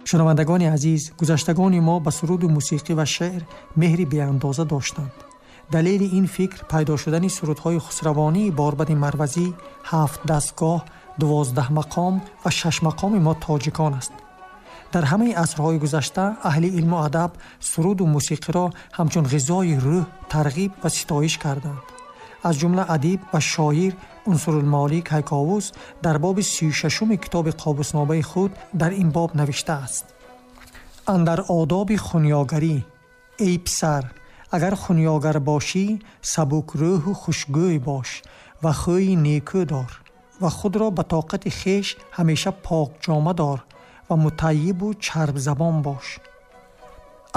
Шунавандагони азиз, гузаштагони мо ба суруду мусиқӣ ва шеър меҳри беандоза доштанд. Далели ин фикр пайдо шудани сурудҳои хусравонии Борбади Марвазӣ, ҳафт дастгоҳ, 12 мақом ва шаш мақоми мо тоҷикон аст. Дар ҳамаи асрҳои гузашта аҳли илму адаб суруду мусиқиро ҳамчун ғизои рӯҳ тарғиб ва ситоиш карданд. Аз ҷумла адиб ва шоир Унсурулмолӣ Кайковус дар боби 36-уми китоби қобусномаи худ дар ин боб навиштааст: андар одоби хунёгарӣ, эй писар, агар хунёгар бошӣ, сабукрӯҳу хушгӯй бош ва хӯи некӯ дор ва худро ба тоқати хеш ҳамеша покҷома дор ва мутайибу чарбзабон бош.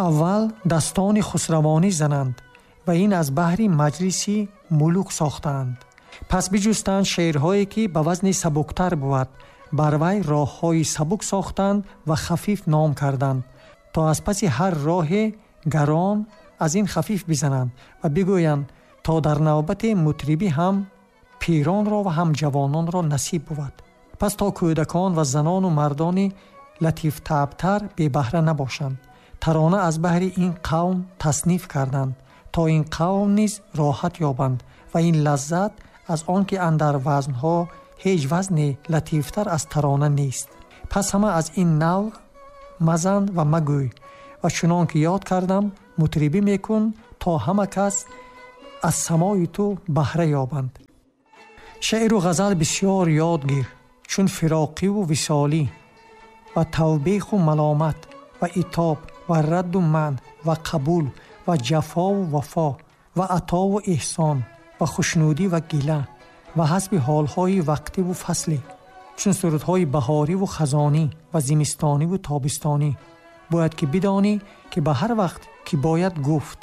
Аввал дастони хусравонӣ зананд ва ин аз баҳри маҷлиси мулук сохтаанд. Пас биҷустанд шеърҳое, ки ба вазни сабуктар бувад, бар вай роҳҳои сабук сохтанд ва хафиф ном карданд, то аз паси ҳар роҳе гарон аз ин хафиф бизананд ва бигӯянд, то дар навбати мутрибӣ ҳам пиронро ва ҳам ҷавононро насиб бувад. Пас то кӯдакон ва занону мардони латифтабтар бебаҳра набошанд, тарона аз баҳри ин қавм тасниф карданд, то ин қавм низ роҳат ёбанд ва ин лаззат аз он ки андар вазнҳо ҳеҷ вазне латифтар аз тарона нест. Пас ҳама аз ин нав мазан ва магӯй ва чунон ки ёд кардам мутрибӣ мекун, то ҳама кас аз самои ту баҳра ёбанд. Шеъру ғазал бисёр ёд гир, чун фироқиву висолӣ ва тавбеху маломат ва итоб ва радду манъ ва қабул ва ҷафову вафо ва атову эҳсон ва хушнудӣ ва гила ва ҳасби ҳолҳои вақтиву фаслӣ, чун сурудҳои баҳориву хазонӣ ва зимистониву тобистонӣ. Бояд ки бидонӣ, ки ба ҳар вақт ки бояд гуфт.